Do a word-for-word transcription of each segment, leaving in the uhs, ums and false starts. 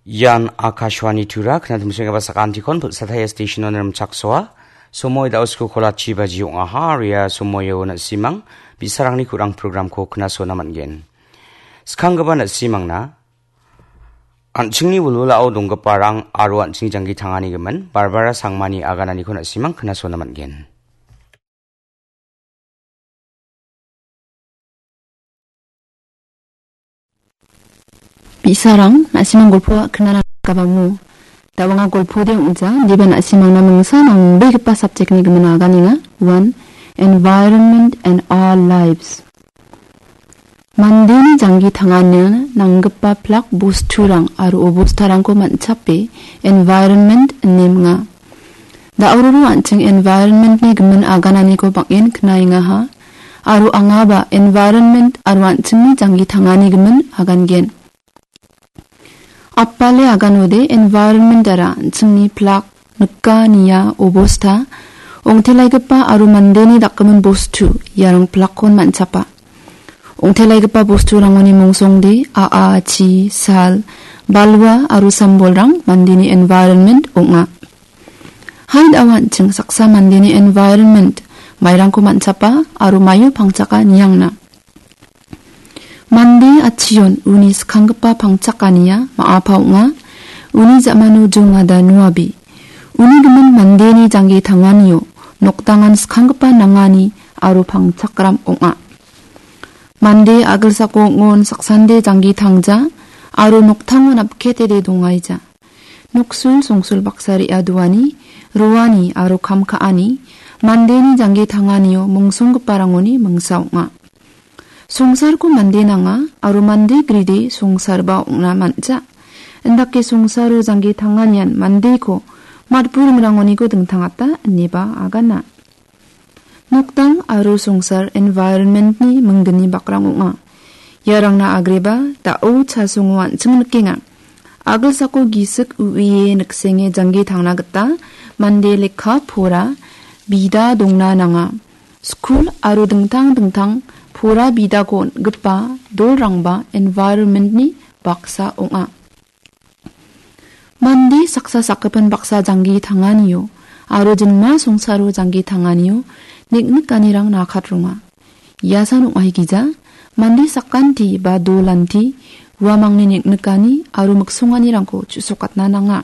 Ian Akashvani Tura, knatimsenggipa sakantikon Pulsataya Station-on rimchaksoa. Somoi da·o skul kolachi baji ong·aha, aro ia somoio na·simang bi·sarangni kurang programko knasona man·gen. Skanggipa na·simangna an·chingni wilwilao donggiparang aro an·chingni janggi tangani gimin Barbara Sangmani agananiko na·simang knasona man·gen. Bi·sarang, na·simang golpo knana gabamo. Da·o anga golpode ong·ja, indiba na·simangna mingsa nangbegipa subject-ni gimin aganenga. One, environment and our lives. Mandeni janggi tangania nanggipa plak bosturang aro obostarangko man·chape environment ine minga. Da·ororo an·ching environment-ni gimin agananiko bang·en knaengaha, aro angaba environment aro an·chingni janggi tangani gimin agangen. Apale aganode environment-ara an·chingni plak, nika, nia, obosta, ong·telaigipa aro mandeni dakgimin bostu, iarang plakkon man·chapa. Ong·telaigipa bosturangoni mongsongde a·a, chi, sal, balwa aro sambolrang mandeni environment ong·a. Hai da·o an·ching saksa mandeni environment, mairangko man·chapa aro maio pangchaka niangna. Mande atchion uni skanggipa pangchakania ma·apa ong·a. Uni ja·mano jongada nuabe. Uni gimin mandeni jangge tanganio nokdangan skanggipa nangani aro pangchakram ong·a. Mande a·gilsako ong·on saksande jangge tangja aro noktango napketede dongaija. Noksul songsul baksa re·a doani, roani aro kam ka·ani mandeni jangge tanganio mongsonggiparangoni mingsa ong·a. Songsarko mande nanga aro mande gride songsarba ong·na man·ja. Indake songsaro jangge tanganian mandeko matburingrangoniko dingtangata ineba agana. Nokdang aro songsar environment-ni mingdini bakrang ong·a. Iarangna agreba da·o chasongo an·ching nikenga. A·gilsako gisik u·ie niksenge jangge tangna gita mande lekka pora bida dongna nanga. Skul aro dingtang dingtang pora bidako on·gipa dolrangba environment-ni baksa ong·a. Mande saksa sakgipin baksa janggi tanganio aro jinma songsaro janggi tanganio niknikanirang nakatronga. Iasan ong·aigija, mande sakanti ba dolanti uamangni niknikani aro miksonganirangko chu·sokatna nanga.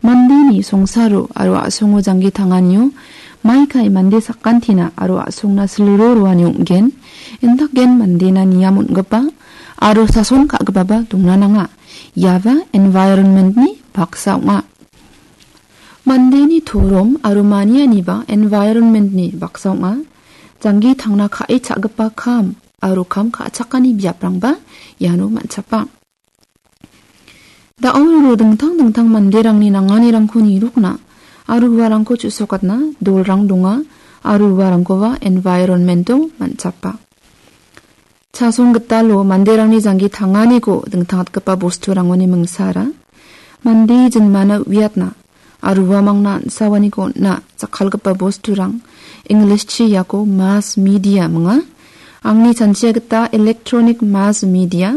Mandeni songsaro aro a·songo janggi tanganio maikai mande sakantina aro a·songna silro roani ong·gen, indaken mandena niam on·gipa aro sason ka·gipaba dongna nanga. Iaba environment-ni baksa ong·a. Mandeni torom aro manianiba environment-ni baksa ong·a. Janggi tangna ka·e cha·gipa kam aro kam ka·chakani biaprangba iano man·chapa. Da·o ro dingtang dingtang manderangni nanganirangko nirokna aro uarangko chu·sokatna dolrang donga aro uarangkoba environment-o man·chapa. Chasong gitalo manderangni janggi tanganiko dingtangtgipa bosturangoni mingsara mande jinmana uiatna aro uamangna an·sawaniko on·na jakkalgipa bosturang, English-chi iako mass media minga. Angni chanchia gita electronic mass media,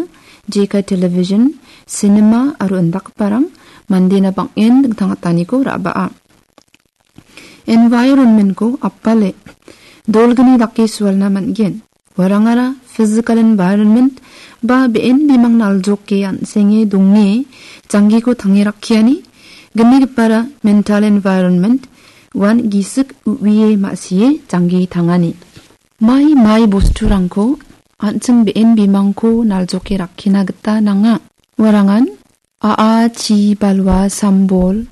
jekai television, cinema aro indakgiparang mandena bang·en dingtangataniko ra·baa. Environment-ko apale dolgni dake sualna man·gen. Uarangara physical environment ba be·en bimang naljoke an·senge donge janggiko tange rakkiani, gnigipara mental environment, uan gisik u·ie ma·sie janggi tangani. Mai mai bosturangko an·ching be·en bimangko naljoke rakkina gita nanga. Uarangan a·a, chi, balwa, sambol,